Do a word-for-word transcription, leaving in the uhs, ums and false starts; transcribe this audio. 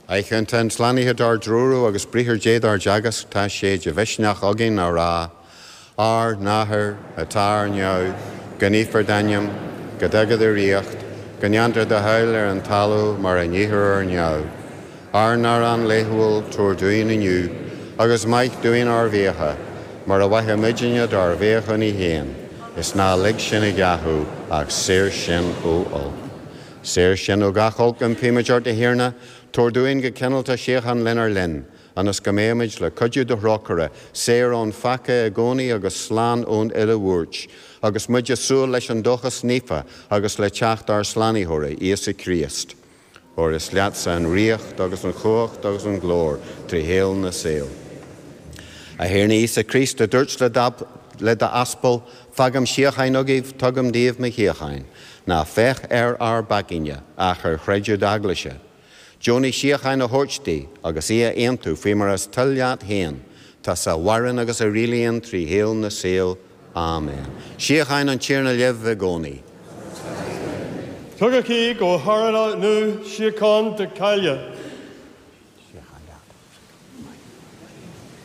Eicheanta an tslánaithe dár dtreorú agus briathar Dé dár dteagasc tá sé de mhisneach againn a rá, Ár n-athair atá ar neamh, go naofar d'ainm, go dtaga do ríocht, go ndéantar do thoil ar an talamh mar a dhéantar ar neamh. Ár n-arán laethúil tabhair dúinn inniu, agus maith dúinn ár bhfiacha, mar a mhaithimidne dár bhfiachúnaí féin, is ná lig sinn i gceathú ach saor sinn ó olc. Saor sinn ó gach olc impímid ort a Thiarna, tabhair dúinn go cineálta síocháin lenár linn, ionas go mbeimid le cuidiú do thrócaire, saor ón pheaca i gcónaí agus slán ón uile bhuairt, agus muid ag súil leis an dóchas naofa agus le teacht ár Slánaitheora, Íosa Críost. Óir is leatsa an ríocht agus an chumhacht agus an glóir trí shaol na saol. A Thiarna Íosa Críost a dúirt le d'aspail, fágaim síocháin agaibh tugaim daoibh mo shíocháin, ná féach ar ár bpeacaí ach ar chreideamh d'eaglaise. Deonaigh síocháin a thabhairt di agus í a aontú faoi mar is toil leat féin, tusa a mhaireann agus a rialaíonn trí shaol na saol. Amen. Síocháin an Tiarna libh i gcónaí. Tugaigí go hArna nó síocháin do chách.